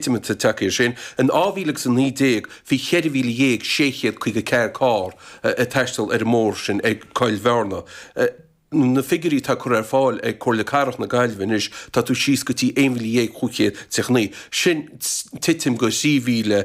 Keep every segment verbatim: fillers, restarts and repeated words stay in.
Titim atá tagtha air sin. In dhá mhíle agus a naoi déag bhí ceithre mhíle dhéag sé chéad caoga ceathair carr ag taisteal ar an mbóthar sin ag Coill Bhearna. Na figiúirí atá curtha ar fáil ag Comhairle Cathrach na Gaillimhe anois, tá tú síos go dtí aon mhíle dhéag chúig chéad tríocha naoi. Sin titim go thrí mhíle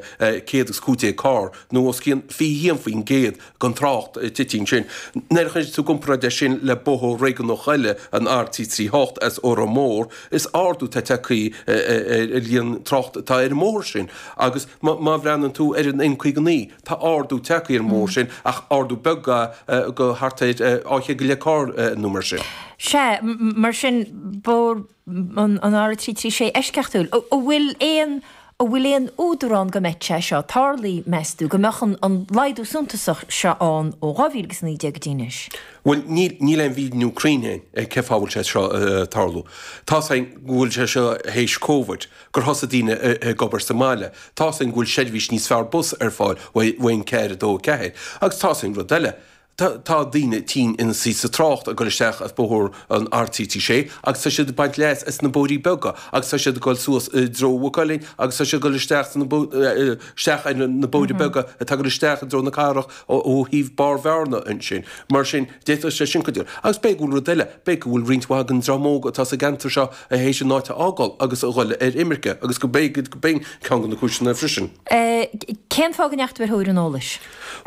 céad agus cúig déag carr, nó os cionn fiche haon faoin gcéad den trácht tite ansin. Nuair a chuireann tú i gcomparáid é sin le bóthar réigiúnach eile, an R trí trí hocht as Órán Mór, is ardú atá tagtha ar líon trácht atá ar an mbóthar sin. Agus má bhreathnaíonn tú ar an N caoga naoi, tá ardú tagtha ar an mbóthar sin, ach ardú beag go thart ar dhá chéad go leith carr nó mar sin. Sea, mar sin, bóthar an R trí trí sé eisceachtúil. An bhfuil aon An bhfuil aon údar ann go mbeadh sé seo tarlaithe, meas tú, go mbeadh an laghdú suntasach seo ann ó dhá mhíle agus a naoi déag go dtí anois? Bhuel, níl, níl aon mhíniú cruinn againn ar cén fáth a bhfuil sé seo ag tarlú. Tá's againn go bhfuil sé seo théis Covid, gur thosaigh daoine ag obair sa mbaile. Tá's againn go bhfuil seirbhís níos fearr bus ar fáil uaidh N ceathair a dó a ceathair. Agus tá's againn rud eile, Tá daoine tinn ina suí sa trácht ag dul isteach as bóthar an R trí trí sé agus tá siad ag baint leas as na bóithrí beaga agus tá siad ag dul suas i dtreo Mhaigh Cuilinn agus tá siad ag dul isteach sna isteach ar na bóithre beaga atá ag dul isteach i dtreo na cathrach ó thaobh Barr Bhearna ansin. Mar sin, d'fhéadfadh sé sin cuidiú. Agus b'fhéidir go bhfuil rud eile, b'fhéidir go bhfuil roinnt mhaith den dream óg atá sa gceantar seo théis an áit a fhágáil agus a dhul ar imirce agus go b'fhéidir go b'in ceann de na cúiseanna freisin. Cén fáth go ndeachaigh tú ar thóir an eolais?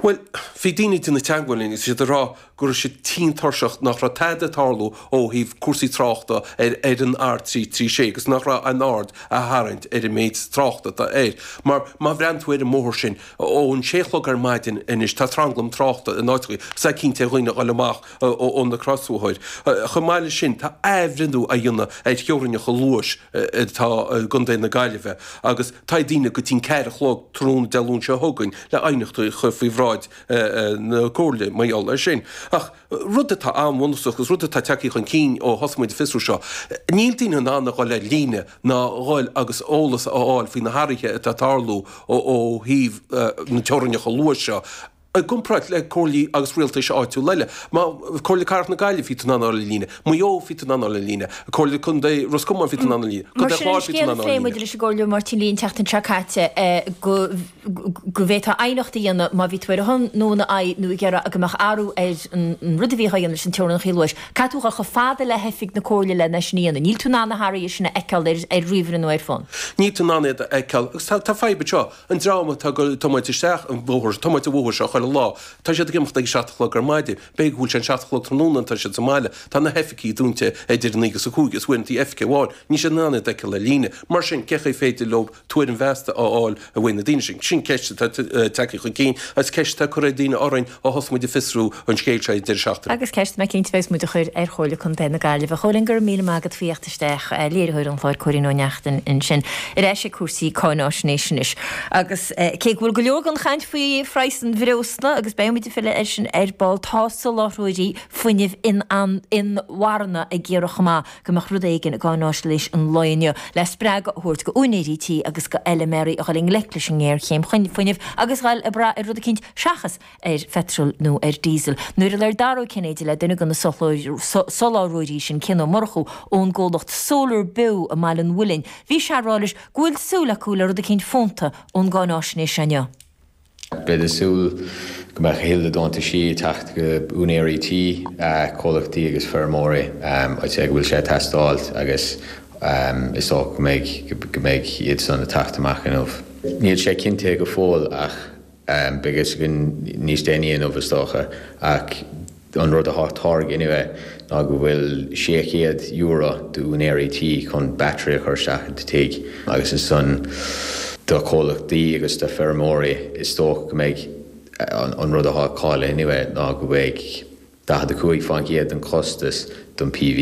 Bhuel, bhí daoine ag déanamh teagmháil linn agus iad ag rá go raibh siad tinn tuirseach nach raibh tada ag tarlú ó thaobh cúrsaí tráchta ar ar an R trí trí sé agus nach raibh aon aird á tharraingt ar an méid tráchta atá air. Mar má bhreathnaíonn tú ar an mbóthar sin ón sé a chlog ar maidin anois tá tranglam tráchta in áiteachaí agus tá cinnte ar dhaoine a dhul amach ó na crosbhóthair. Chomh maith leis sin tá athbhreithniú á dhéanamh ar theorainneacha luais atá i gContae na Gaillimhe agus tá daoine go dtí'n ceathair a chlog tráthnóna Dé Luain seo chugainn le aighneacht a chur faoi bhráid na Comhairle mar gheall air sin. Ach rud atá an-bhunúsach agus rud atá tagtha chun cinn ó thosaigh muid ag fiosrú seo, níl daoine in ann a dhul ar líne ná a dhul agus eolas a fháil faoi na hathruithe atá ag tarlú ó thaobh na teorainneacha luais seo. I gcomparáid le comhairlí agus rialtais áitiúla eile, má, Comhairle Cathrach na Gaillimhe, bhí tú in ann a fháil ar líne, Maigh Eo, bhí tú in ann a fháil ar líne, Comhairle Contae Ros Comáin, bhí tú in ann a fháil ar líne, Mar Contae sin an Chláir, bhí tú in scéal ann a a fháil ar phléigh líne. muid leis an gComhairleoir Máirtín Lee an tseachtain seo caite go go bhféadfá aighneacht a dhéanamh má bhí tú ar a shon nó ina aghaidh nó ag iarraidh go mbeadh athrú ar an rud a bhíodh á dhéanamh leis an teorainneacha luais. Caithfidh tú a dhul chomh fada le hoifig na Comhairle len é sin a dhéanamh. Níl tú in ann na hathruithe sin a fheiceáil ar ar ríomhaire nó ar fón. Níl tú in ann iad a fheiceáil agus tá tá fadhb anseo. An dream atá ag tiomáint isteach an bóthar, tiomáint an bhóthair seo chuile lá, tá siad ag imeacht ag a seacht a chlog ar maidin, b'fhéidir go bhfuil sé an seacht a chlog tráthnóna tá siad sa mbaile, tá na hoifigí dúnta idir a naoi agus a cúig is uaireanta oifige amháin, níl siad in ann iad a fheiceáil ar líne. Mar sin, cén chaoi féidir leo tuairim mheasta a fháil uaidh na daoine sin? Sin ceist atá tagtha chun cinn agus ceist atá curtha ag daoine orainn ó thosaigh muid ag fiosrú an scéil seo ag deireadh seachtaine. Agus ceist mé cinnte bheas muid a chur ar Chomhairle Contae na Gaillimhe. A Chóilín, go raibh míle maith agat faoi theacht isteach, léiritheoir an chláir Cóilín Ó Neachtain ansin. Ar ais ag cúrsaí cáináisnéis anois. Agus cé go bhfuil go leor den chaint faoi phraghas an bhreosla, agus beidh muid ag filleadh air sin ar ball, tá soláthróirí fuinnimh inmharthana ag iarraidh chomh maith go mbeadh rud éigin i gcáináisnéis an lae inniu le spreagadh a thabhairt go úinéirí tí agus go fheilméaraí a dhul i ngleic leis an ngéarchéim fuinnimh agus dhul ag brath ar rud eicínt seachas ar pheitreal nó ar diesel. Nuair a labhair Dara Ó Cinnéide le duine de na soláthróirí sin, Cian Ó Murchú ón gcomhlacht Solar Beo i mBaile an Mhuilinn, bhí sé ag rá leis go bhfuil súil acu le rud eicínt fónta ón gcáináisnéis seo inniu. Beidh súil go mbeadh a thuilleadh deontaisí ag teacht go úinéirí tí, comhlachtaí agus feirmeoirí. I'd say go bhfuil sé ag teastáil agus is dócha go mbeidh go mbeidh iad san ag teacht amach inniu. Níl sé cinntithe go fóill ach Beidh a fhios againn níos déanaí inniu is dócha, ach an rud atá tarlaithe inniu ná go bhfuil sé chéad euro d'úinéirí tí chun battery a chur isteach i do tigh agus ansan do chomhlachtaí agus do feirmeoirí is dócha go mbeidh an rud atá cáilithe inniu ná go mbeidh daichead a cúig faoin gcéad den chostas don P V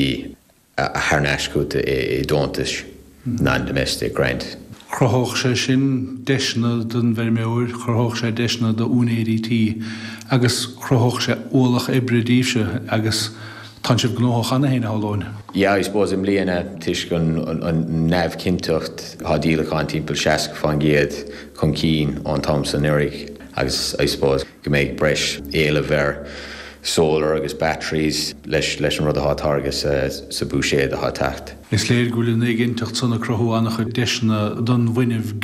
thar n-ais chugat i deontais non-domestic grant. Chruthódh sé sin deiseanna don bhfeirmeoir, chruthódh sé deiseanna d'úinéirí tí agus chruthódh sé ualach oibre daoibhse agus tánn sibh gnóthach cheana féin, a shamhlóinn. Yeah, I suppose i mbliana, toisc an neamhchinnteacht, tá díolacháin timpeall seasca faoin gcéad chun cinn ón t-am san anuraidh agus I suppose go mbeidh breis éileamh ar solar agus batteries leis leis an rud atá targa sa, sa bhuiséad atá ag teacht. Is léir go bhfuil an éiginnteacht san ag cruthú an-chuid deiseanna don bhfuinneamh